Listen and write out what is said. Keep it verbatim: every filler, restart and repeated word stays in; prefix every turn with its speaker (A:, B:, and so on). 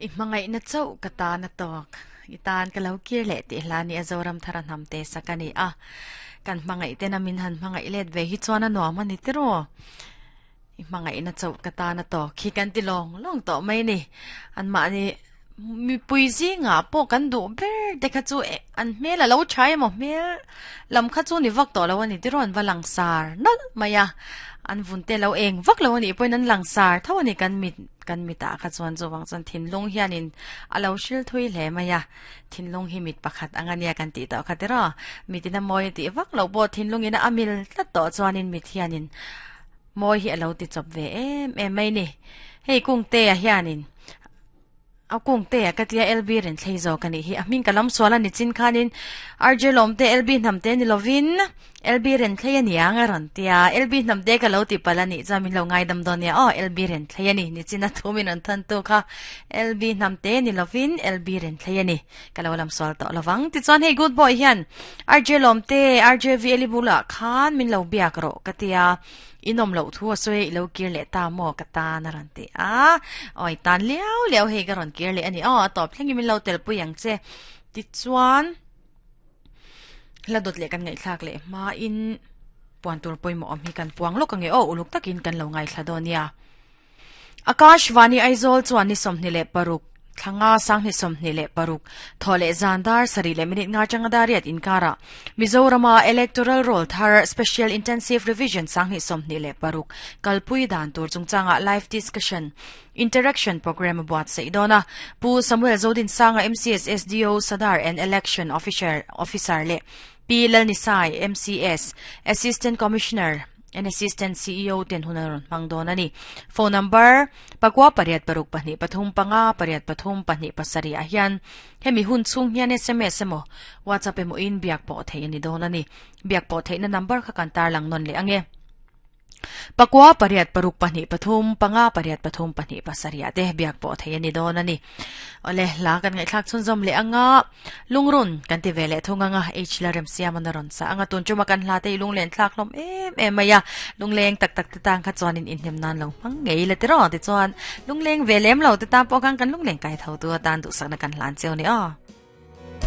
A: I hmangaih na chauh ka tan a tawk i tan ka lo kir leh tih hla ni a Zoram thara hnam te sak a ni a kan hmangaih tena min han hmangaih let ve hi chuan a nuam a ni tiraw i hmangaih na chauh ka tan a tawk hi kan ti lawng lawng tawh mai ni an mahni mi pui zinga pawh kan duh ber te kha chu an hmel a lo tha emaw hmel lam kha chu ni vak tawh lo a ni tiraw an va langsar nalh mai a an vun te lo eng vak lo ani pawhin an langsar tho ani kan mit kan mita kha chuan chuwang chuan thinlung hianin a lo hril thui hle mai a thinlung hi mit pakhat anga nia kan tih tawh kha tiraw mitin a mawi tih vak lo pawh thinlungin a mil tlat tawh chuanin mit hianin mawi hi a lo ti chawp ve em em mai ni hei kung te a hianin a kung te a katia L B ren thlei zo kani hi a hming ka lam suala ni chin khanin R J lom te L B hnam te ni lovin L B ren thlei ani anga ron tia L B hnam te ka lo ti palani chamin lo ngai dam don ya o L B ren thlei ani ni chin a thumin an than tu kha L B hnam te ni lovin L B ren thlei ani ka lo lam sual to lawang ti chuan hei good boy hian R J lom te R J V eli bula khan min lo biak ro katia inom lo thu soi lo kir le ta mo ka ta na ran te a oi tan liao liao he ka ron kir le ani o top thlengi min lo tel pui ang che ti chuan la dot le kan ngai thlak le ma in puan tur poi mo am hi kan puang lo ka nge o uluk takin kan lo ngai thla donia Akash Vani Aizawl chuan ni somni le paruk thanga sangni somni le paruk thole zandar sari le minute nga changa dariat inkara Mizorama electoral roll thar special intensive revision sangni somni le paruk kalpui dan tur chungchanga live discussion interaction program buat seidona Pu Samuel Zodin Sanga M C S S D O Sadar and election officer officer le P Lalnisai M C S Assistant Commissioner and Assistant C E O ten hunaron mangdon ani phone number pakwa pariat paruk pahnih pathum panga pariat pathum pahnih pasari a hian hemi hun chung hian S M S emaw WhatsApp emaw in biak pawh thei ani dawn ani biak pawh theihna number kha kan tar lang nawn leh ange pakwa pariat paruk pahnih pathum panga pariat pathum pahnih pasari a te biak pawh thei ani dawn ani ole la kan ngai thlak chhun zawm leh anga lungrun kan ti vele thunga nga h la rem siam an ron sa anga tun chuma kan hla te lunglen thlak hlom em em maya lungleng tak tak te tang kha chuan in inhnem nan lo mang ngei le te ro ti chuan lungleng velem lo te ta pawh kan kan lungleng kai tho tu tan du sakna kan hlan cheu ni a.